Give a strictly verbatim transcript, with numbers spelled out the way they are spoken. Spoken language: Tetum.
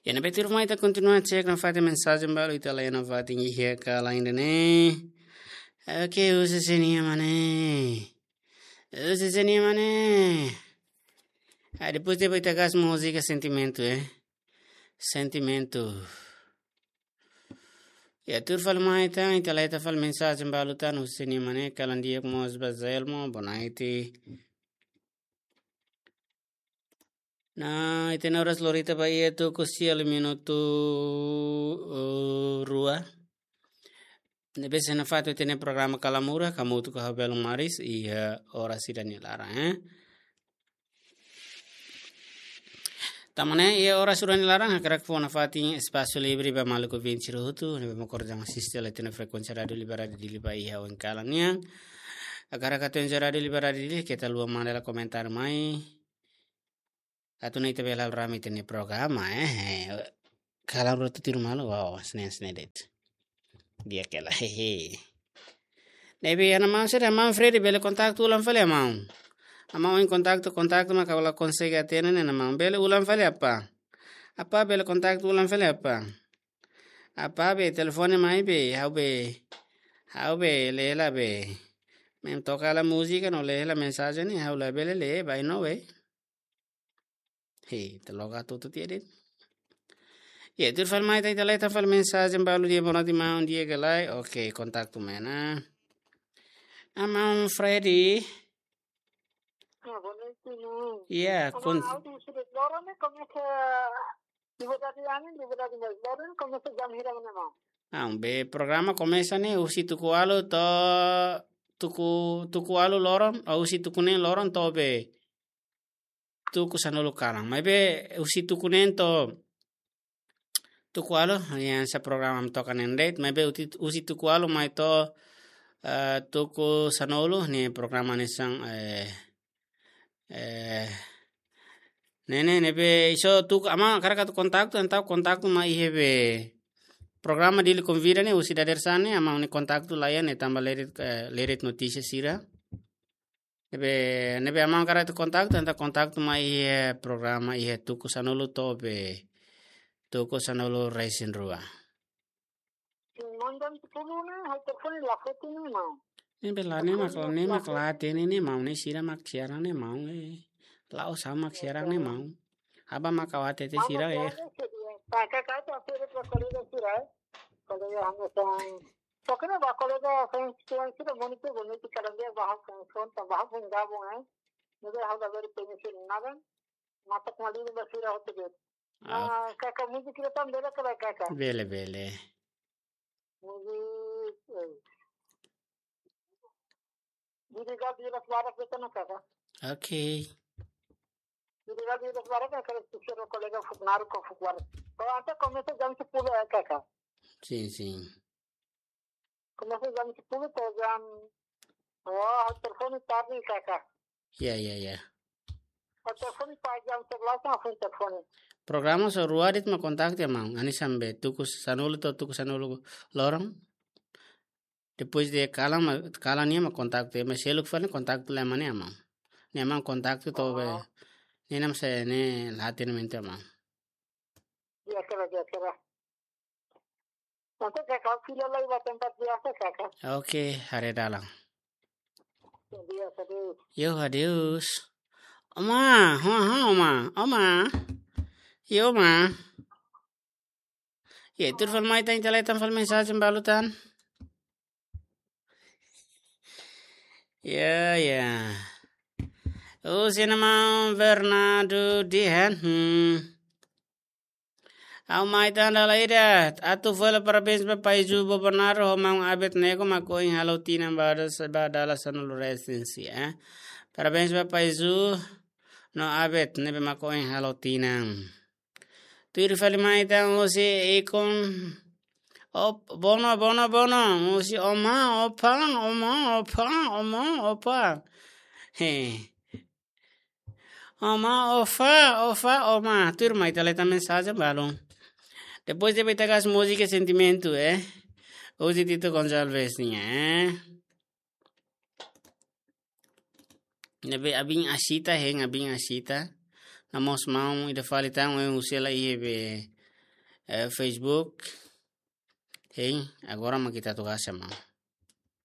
Iha ne'ebé tuirmai ita kontinua cek nafatin mensajen balu ita la'o nafatin iha kalan ida-ne'e. Oke, husi sé-nia mane. Husi sé-nia mane. Ah, depois de ita gas múzika sentimentu, eh. Sentimentu. Iha tuir fali mai tan, ita la'o ita fali mensajen balu tan, husi sé-nia mane, kalan di'ak mós ba Zelmo, bonaiti. Nah, ita-nia oras lorita ba iha tuku sia liu minutu, eh, rua. Ne'ebé sei nafatin ita-nia programa Kalamurra, hamutuk ho ha'u Belo Maris, iha oras ida-ne'e laran, eh. Tanba ne'e, iha oras ida-ne'e laran, hakarak fó nafatin espasu livre ba maluk ouvinte sira hotu, ne'ebé mak oras ida asiste hela ita-nia frekuénsia Rádiu Liberdade Dili ba iha oin kalan nian. Hakarak atu enjoy Rádiu Liberdade Dili, keta haluha manda hela komentáriu mai. Atu nune'e ita bele halo rame ita-nia programa, eh, eh. Kalamurra tuir malu, wow, senen, senen de'it. Di'ak hela, hehe. Ne'ebé, iha maun sira, maun Freddy, bele kontaktu ulang fali maun. Maun ohin kontaktu, kontaktu mak la konsege hatene ne'e maun. Bele ulang fali apá? Apá bele kontaktu ulang fali apá? Apá be telefone mai be, ha'u be, ha'u be lee hela be. Maun toka hela múzika no lee hela mensajen ne'e, ha'u labele lee, bainhira be. Hei, ita loga tutu tiha de'it. Iha tuir fali mai tan, ita la'o ita fali mensajen balu di'ak, bonaiti maun, di'ak ka lae. Oke, kontaktu mai ona. Ah, maun Freddy. Ah, bonaiti maun. Iya, ah, kon- maun, ha'u husi loron ne'e komesa, Liberdade Anin, Liberdade Anin, loron ne'e komesa jam hira ne'e maun? Ah, be programa komesa ne'e husi tuku ualu to'o tuku, tuku ualu loron, ah, husi tuku neen loron to'o be tuku sanulu kalan. Maibé husi tuku neen to'o tuku ualu, hanesan programa mak toka neen de'it, maibé husi, husi tuku ualu mai to'o, eh, tuku sanulu ne'e programa hanesan, eh, eh, ne'e, ne'e, ne'ebé iso tuku, maun hakarak atu kontaktu, entaun kontaktu mai iha be programa Dili Konvida ne'e, husi dadeer-saan ne'e, maun nia kontaktu laiha ne'e tanba lee de'it, eh, lee de'it notísia sira. Ne'ebé, ne'ebé maun hakarak atu kontaktu, entaun kontaktu mai iha programa iha tuku sanulu to'o be tuku sanulu-resin-rua. Maun jam sepuluh ne'e, ha'u telefone la foti ne'e maun. Ne'ebé la ne'e mak, ne'e mak la hatene ne'e maun, ne'e sira mak siaran ne'e maun, eh. La'ós ha'u mak siaran ne'e maun. Aban mak ha'u hatete sira, eh. Kakak, kakak, atu hatete ba kolega sira, eh. Kolega hanesan Tokena ba kolega fans tuan sira monitor bonito kalan di'ak ba ha'u kan son ta ba ha'u pun gabung, eh. Nega ha'u da beri permission nagan. Matak malini ba sira hotu bet. Ah. Ah, kakak, múzika ida tan bele ka lae kakak? Bele, bele. Múzika, eh. Dili ga di las barak beta na kakak. Oke. Dili ga di las barak na kakak, sira kolega fuk naru ko fuk war. Ko anta komesa jam sepuluh ya kakak. Sin, sin. Komesa jam sepuluh to'o jam, oh, telefone tarde kakak. Ya, ya, ya. Oh, telefone pas jam sebelas na fun telefone. Programa só rua de'it mak kontaktu ya maun. Hanesan be tuku sanulu to'o tuku sanulu loron. Depois de kalan mak, kalan nian mak kontaktu ya, maibé seluk fali kontaktu la iha maun. Ne'e maun kontaktu to'o be. Oh. Ne'e mak se ne'e la hatene mente maun. Di'ak ka lae, di'ak ka lae. Entaun kakak fila lai ba tempat biasa kakak. Oke, haree dalan. Di'ak, adeus. Yo, adeus. Oma, ho, ho, oma, oma. Yo, oma. Iha tuir fali mai tan, ita la'o ita fali mensajen balu tan. Ya, ya. Oh, sira-nia maun Bernardo dehan, hmm. Ha'u mai tan dala ida, atu fó hela parabéns ba Pai Ju, Vovó Naro, ho maun Abet ne'ebé mak ohin halo tinan ba dala, ba dala sanulu-resin-sia, eh. Parabéns ba Pai Ju no Abet ne'ebé mak ohin halo tinan. Tuir fali mai tan husi Ikon. Op, Bono, Bono, Bono. Husi Oma, Opa, Oma, Opa, Oma, Opa. He. Oma, Opa, Opa, Oma. Tuir mai ita la'o ita mensajen balu. Depois de ita gas múzika sentimentu, eh. Husi Tito Gonçalves nian, eh. Ne'ebé abin asita, hein abin asita. No mós maun ida fali tan, eh, husi hela iha be eh, Facebook. Hein, agora mak ita atu hasai maun.